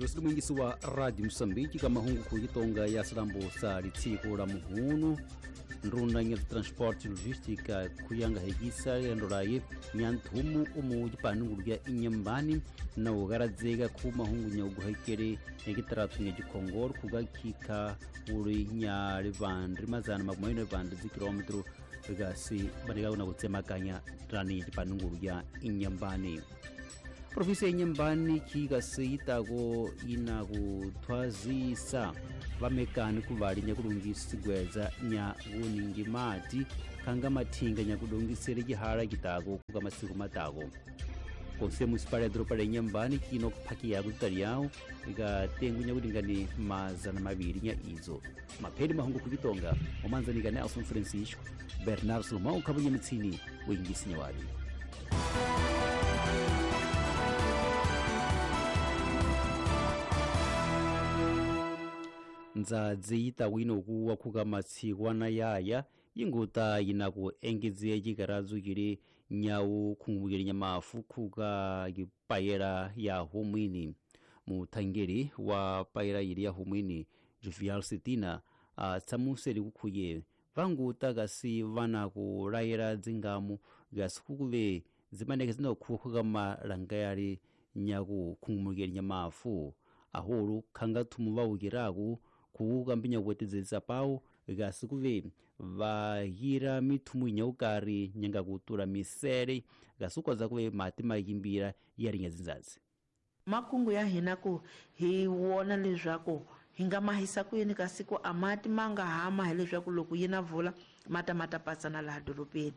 Losili wa Radio Moçambique ka mahungu kuyitonga ya silambo sa litsiko la muhunu ndruna nya transporte logística kuyanga hegisa yandolaye nyanthumu umu jipanungulu ya inyambani na ugaradzega ku mahungu nya uguhekere nyagitaratu nya jikongoro kugakika uri nya rivandri mazana makumai rivandri zikilometro gasi banega na kutsemakanya rani jipanungulu ya inyambani. Província Inhambane kikaseyitako ina kuthwazisa vamekani kuvali nyakulungisa sigweza nya kuningi mati khanga mathinga nyakudongisele cihala citako kuka masiku matako. Conselho Municipal ya Doropa la Inhambane kino kuphakiya kutitali ikatengu nyakulingani mazana maviri nya izo. Mapheli mahungu kukitonga omanzanika Nelson Francisco Bernardo Salomão khabunya mitsini wingisi nyawali. Ndzadzi yitawina okuwa khuka matshikwana yaya yinguta yinaku engedziya cikaradzo cili nyawu khungumukile nyamafu khuka kipayela ya humwini. Muthangeli wa payela yili ya humwini Jovial Sitina atsamuseli kukhuye vanguta kasi vanaku layela dzingamu gasi zimaneke zinakhuwa khuka malanga yali nyaku khungumukile nyamafu ahulu khanga thumu vawukiraku kuuka mbinya kuwetedzelisa pawu kasi kuve vahira mithumu inyaukari nyanga kutula misele kasi ukwaza kuve mati mayimbira yalinya zinzazi. Makungu ya hina ku hi wona leswaku hi nga mahisa ku yini kasi ku amati ma nga hama hi leswaku loko yi na vula mata mata pasana laha dorobeni.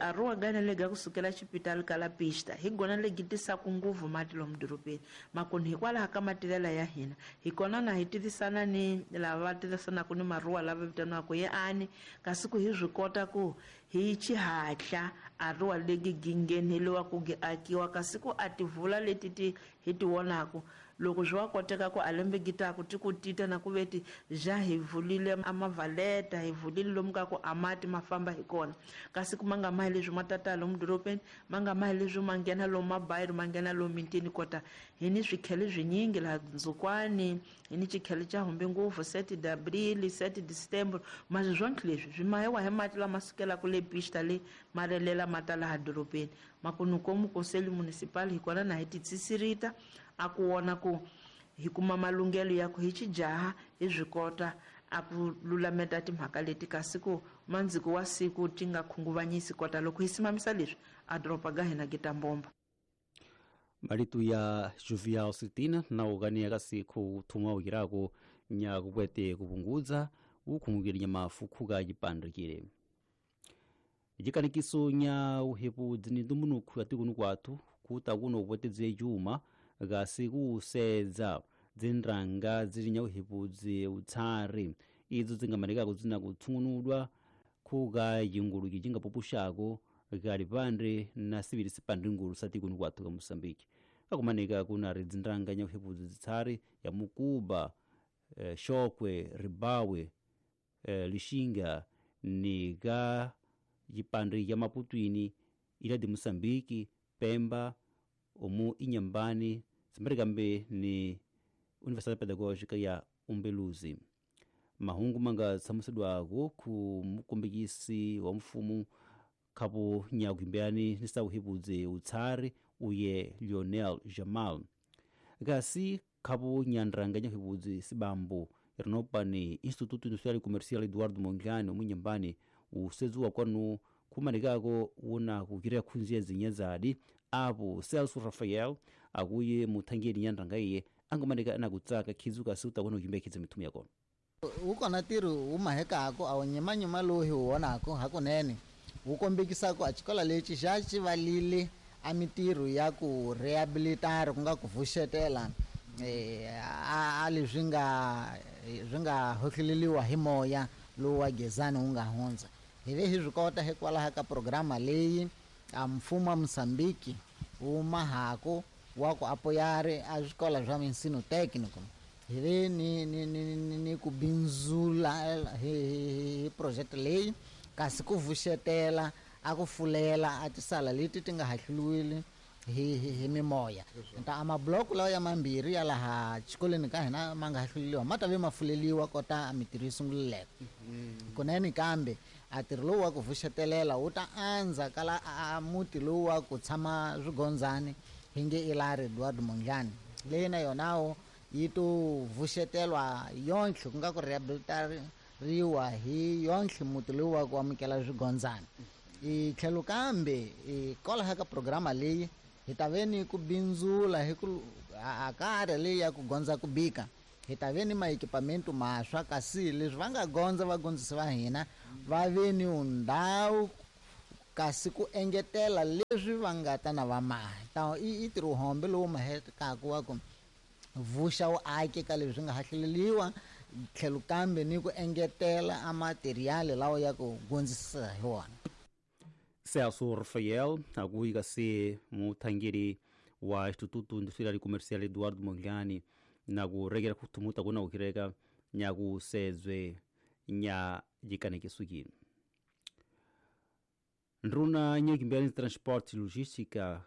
Aruwa gana lega kusukela xipitali ka la pista hi gona legi tisaku nguvu mati lomu dorobeni makoni hikwalaho ka matilela ya hina hi kona na hi tivisana ni lava va tivisanaka ni maruwa lava vitaniwaka ye ani kasi ku hi swi kota ku hi xihatla aruwa legi gingheneliwa ku gi akiwa kasi ku a tivula leti ti hi ti vonaku loko swi wa koteka ku alembe gitaku ti ku tita na ku veti ja hi vulile amavaleta hi vulile lomu ka ku amati ma famba hi kona kasi ku ma nga mahi leswi ma tata lomu dorobeni ma nga mahi leswi ma nghena lomu mabayiri ma nghena lomu mintini kota hi ni swikhele swinyingi laha Ndzhukwani hi ni xikhele xa humbi nguvu 7 de abril 7 de setembro masi swonke leswi swi mahiwa hi mati lama sukelaka le pista le ma relela ma ta laha dorobeni makunukomu conselho municipal hi kona na hi titsisirita a ku wona ku hi kuma malunghelo ya ku hi xijaha hi swi kota a ku lulameta timhaka leti kasi ku mandziko wa siku ti nga khunguvanyisi kota loko hi simamisa leswi a doroba ga hina gi ta mbomba. Malitu ya Jovial Sitina na ukania kasi kuthumwa ukirako nya kukwete kupungudza ukhungukile nyamafu khuka cipandikile. Jikanikiso nya uhepu dzinidumbunuku atikunu kwathu kuta kuno kupwetedze cuma kasi kusedza dzindrang zili nya uhepudzi utsari idzo dzingamanikako dzina kutsung'unudwa khuka yinguluki cingapupuxako kali pandre na sivili sipandre ngulu satikunu kwathu ka Moçambique. Kakumanika kunari dzindrang nya uhepudzi dzitsari ya Mukuba, Xokwe, Ribawe, Lixinga ni ka yipandre ya Maputwini ila de Moçambique, Pemba, omu Inhambane, simarikambe ni Universidade Pedagógica ya Umbeluzi. Mahungu manga tsamusedwako ku mukombekisi wa mfumo khapo nyakuimbeani ni sauhipudze utsari uye Lionel Jamal. Kasi khapo nyandrang nyakuhipudze sibambo rinopa ni Instituto Industrial e Comercial Eduardo Mondlane omunyambani usedziwa kwanu khumanikako wuna kukira khunziya zinyazadi apo Celso Rafael akuye muthangeli nyandrang iye angomanika anakutsaka khizuka siuta kuno kuimbekhidza mithumu yakona. Wu kona ntirho wu mahekako a wu nyimanyima lowu hi wu vonako hakunene wu kombekisako a xikolo lexi xa xi valile a mitirho ya ku rehabilitara ku nga ku pfuxetela a leswi nga swi nga hohleleliwa hi moya lowu wa gezani wu nga hundza. Hi ve hi swi kota hikwalaho ka programa leyi a mfumo wa Mozambique wu mahako wa ku apoyare a swikolo swa ensino técnico. Hi ve ni ku bindzula hi project leyi kasi ku vuxetela a ku fulela a tisala leti ti nga hahluriwile hi mimoya. Ta a mabloko lawa ya mambirhi ya laha xikolweni ka hina ma nga hahluleliwa ma ta ve ma fuleliwa kota a mitirho yi sunguleleko. Kunene kambe a ntirho lowu wa ku vuxetelela wu ta andza kala a muti lowu wa ku tshama swigondzani hi nge Ilari Edward Mondlane leyi na yonawo yi to vuxetelwa yontlhe ku nga ku rehabilitariwa hi yontlhe muti lowu wa ku amukela swigondzani. I tlhelo kambe hikwalaho ka programa leyi hi ta ve ni ku bindzula hi ku a karhi leyi ya ku gondza ku bika hi ta ve ni maekipamento maswa kasi leswi va nga gondza vagondzisi va hina va ve ni ndhawu kasi ku engetela leswi va nga ta na va maha ta i ntirho lowu mahekaka wa ku vuxa wu ake ka leswi nga hahleleliwa tlhelo kambe ni ku engetela a material lawa ya ku gondzisa hi wona. Celso Rafael akuika se muthangeri wa Instituto Industrial e Comercial Eduardo Mondlane na kurekera kutumuta kuna ukireka nyakusedzwe nya jikanekisukini. Ndruna nyekimbelani transporte e logística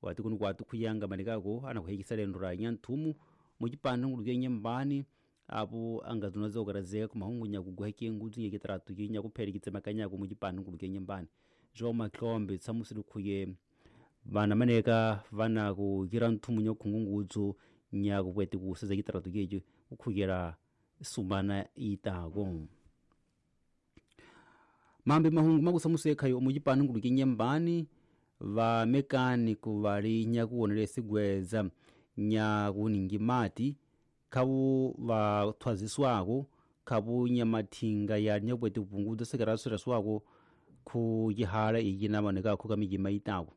wati kunu kwatu khuyanga manikako anakuhekisa lendo ra nyanthumu mucipano nguluke nyembani apo angazuna okarazeka kumahungu nyakuguheke ngudzu nyekitaratu nyakuphelekice makanyako mucipano nguluke nyembani. João Matlombe tsamusili khuye vana maneka vana kukira nthumu nyakukhungungudzu nyakupwete kuseza kitaratu keco kukhukira sumana itako. Mambe mahungu makusamusi ekhayo mucipano nguluke nyembani vamekaniku vali nyakuwonela sigweza nyakuningi mati khavu vathwaziswako khavu nyamathinga ya nyakuwete kupungudza sekeraseraswako khu yihala iyi namanekakho ka mijima itako.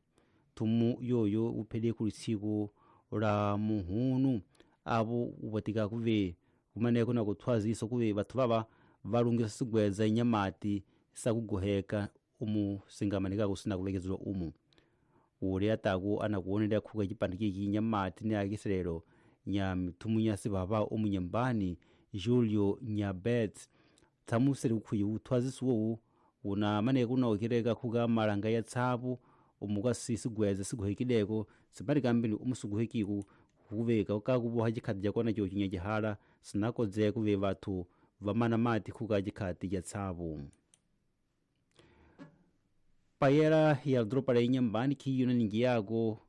Thumu yoyo uphele khulitsiku la muhunu apo upatika kuve kumaneko na kuthwazisa kuve vathu vava valungisa sigweza nyamati sakugoheka umu singamanekako sinakulekezedwa umu. Uli ataku anakuwonelera khuka cipande ciki nyamati ni akiselelo nya mithumu nya sivava umu nyembani Julio Nyabet thamuseli ukhuyi uthwazisiwowu una maneko unaokireka khuka malanga ya tsapu umukasi sigweza siguhekileko sipali kambili umusuguhekiku kuveka kakuvoha cikhati cakona coci nyacihala sinakodzeka kuve vathu vamana mati khuka cikhati ca tsapu. Payera ya dropa la inyambani khiyuna ningi yako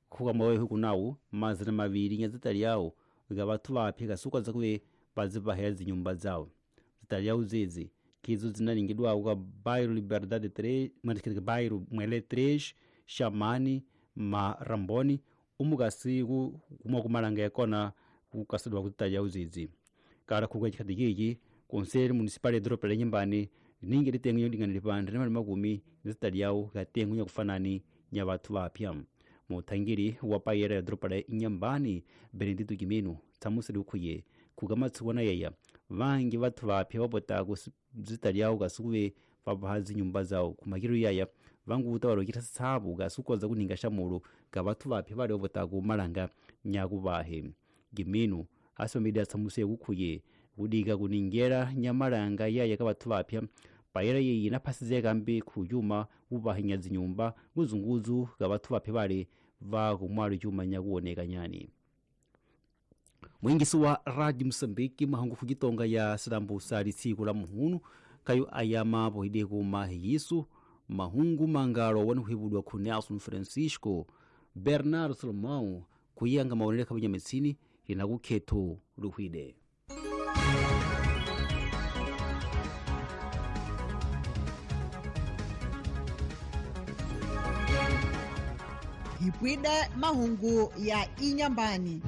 khuka mawehe kunawu mazana maviri nyazitali yawo ga vathu vaphi kasuka zakuve vazivahela zinyumba zawo zitali yawo zezi kizo zinalingidwako ka bairro Liberdade 3 matikirika bairro Mwele 3 Xamani Maramboni umukasi kumwa kumalanga yakona kukasidwa kutali yawo zizi kala khuka chikhati kiki Conselho Municipal ya dropa la inyambani ningi litengo yolingana lipande na makumi zitali yawo katengo nyakufanani nya vathu vapya. Muthangiri wa payera ya dropa la inyambani Benedito Kimino thamuseli ukhuye khukamatsuwana yeya vangi vathu vapya vapotako zitali yawo kasukuve vavaha zinyumba zawo kumakiro yaya vanguta valokitha sitsapu kasukoza kuninga xamulo ka vathu vapya vali vapotako malanga nyakuvahe. Kimino asomile athamuseye kukhuye kudika kuningera nyamalanga yaya ka vathu vapya payera yeyi inaphasizeka kambi khuyuma uvahinya zinyumba nguzunguzu ka vathu vapya vali va kumwalo cuma nyakuwoneka nyani. Mwingisi wa Radio Mosambiki mahangu fukitonga ya silambusa litsiku la muhunu kayo ayama pohide kuma hiyisu mahungu mangalo wanuhibudwa khu Nelson Francisco Bernardo Salomão kuyanga maonele khabunyametsini linakukhetho luhwide. Hipwida mahungu ya inyambani.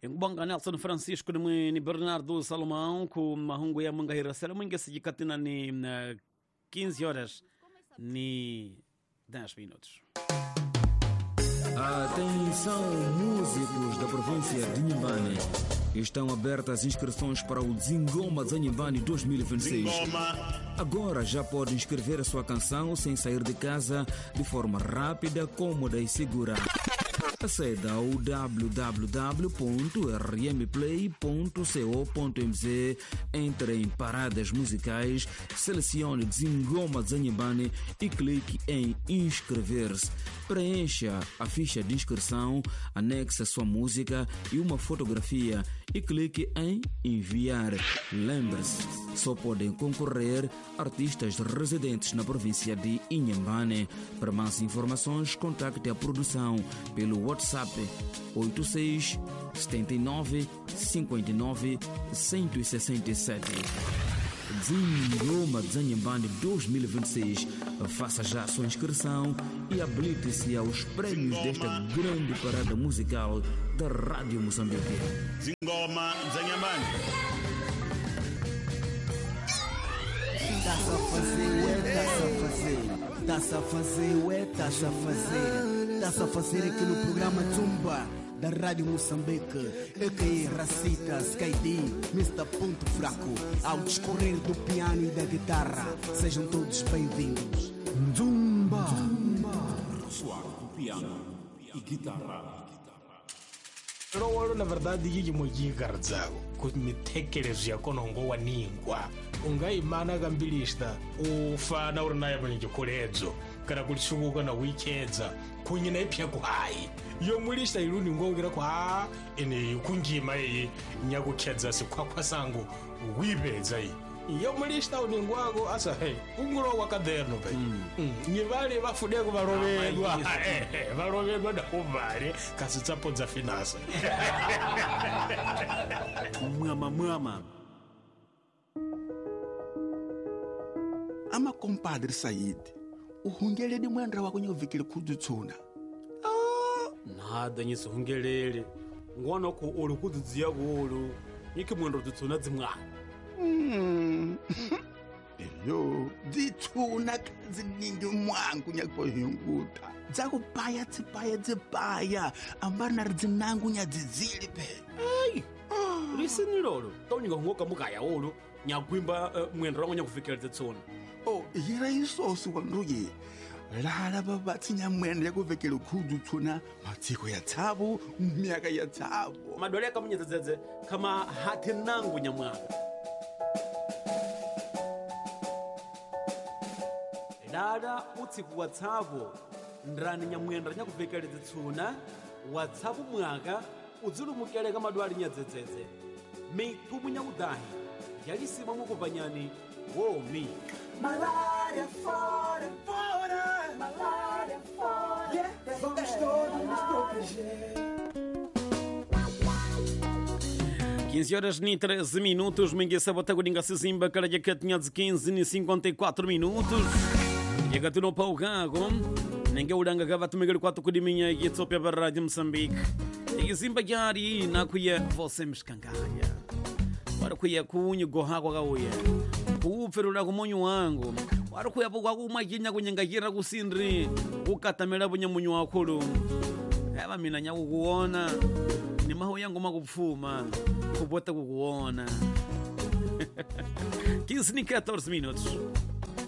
Nkubanga Nelson Francisco ni Bernardo Salomão ku mahungu ya mungahira sela mwingi sijikatina ni 15 horas ni 10 minutos. Atenção, músicos da província de Inhambane. Estão abertas inscrições para o Zingoma Zanhambane 2026. Agora já pode inscrever a sua canção sem sair de casa, de forma rápida, cômoda e segura. Aceda ao www.rmplay.co.mz, entre em paradas musicais, selecione Zingoma Zanhambane e clique em inscrever-se. Preencha a ficha de inscrição, anexe a sua música e uma fotografia e clique em enviar. Lembre-se, só podem concorrer artistas residentes na província de Inhambane. Para mais informações, contacte a produção pelo WhatsApp 86 79 59 167. Zingoma Zanhambane 2026. Faça já a sua inscrição e habilite-se aos prêmios desta grande parada musical da Rádio Moçambique. Zingoma Zanhambane. Tá-se a fazer, ué, tá-se a fazer. Tá-se a fazer, ué, tá-se a fazer. Tá-se a fazer aqui no programa Zumba da Rádio Moçambique, a.k.a. Racita, Sky D, Mr. Ponto Fraco, ao discorrer do piano e da guitarra. Sejam todos bem-vindos. Zumba! Soar do piano e guitarra. Lowolo na verdade yiyimoyikaradzako kuti mithekelezo ya kona ungowaningwa ungayimana kambilista ufana uri naye mwenye kana kulisukuka na wichedza kunye na ipya kuhayi yomulista iluni ngongera ku ha ene kunjima iyi nyakukhedza sikhwakhwa sangu wipedza iyi yomulista uningwako asa he ungulowa kaderno pe nyivale vafudeko valovedwa valovedwa dakuvale kasi tsapo dza finasa mwama mwama ama compadre Said uhungeledi mwendra wako nyovikile khudzutshuna nada nyisihungelele ngwana ku uli kudzudziya kulu nyiki mwendra dzutsuna dzimwana Eyo dzitshuna khadziningi mwangu nyakuhinguta dzakupaya tsipaya dzipaya ambari nari dzinangu nyadzidzili pe ai lisini lolo taunyika hungoka mukaya ulu nyakwimba mwendra wangu nyakuvikela dzitsuna oh yira isosi wanduye lala vavatsi mwenda yakuvekele khudzutsuna matsiko ya tsavo myaka ya tsavo madwale akamunyedzedzedze kama hathi nangu nyamwaka lala utsiku wa tsavo ndrani nyamwenda nyakuvekele dzitsuna wa tsavo mwaka udzilumukele ka madwale nyadzedzedze mitumu nyakudahi yalisima mukupanyani womi Malária fora, fora, malária fora. Yeah, vamos todos nos proteger. 15 horas e 13 minutos, minha sabota kuninga sizimba kala jakatinha de 15 e 54 minutos. Yakatuno paukago, nenge ulanga kava tumigeli kwatu kudiminya yetsopia para Rádio Moçambique. Izimba jari nakuye você mshkanganya. Wari kuye kunyu gohakwa kauye. Kuupferula kumonyu wangu. Wari kuyapo kwakumakinya kunyengakira kusindri. Kukatamela bunyamunyu wakhulu. Eva mina nyakukuona. Ni maho yangu makupfuma. Kupota kukuona. 15 e 14 minutos.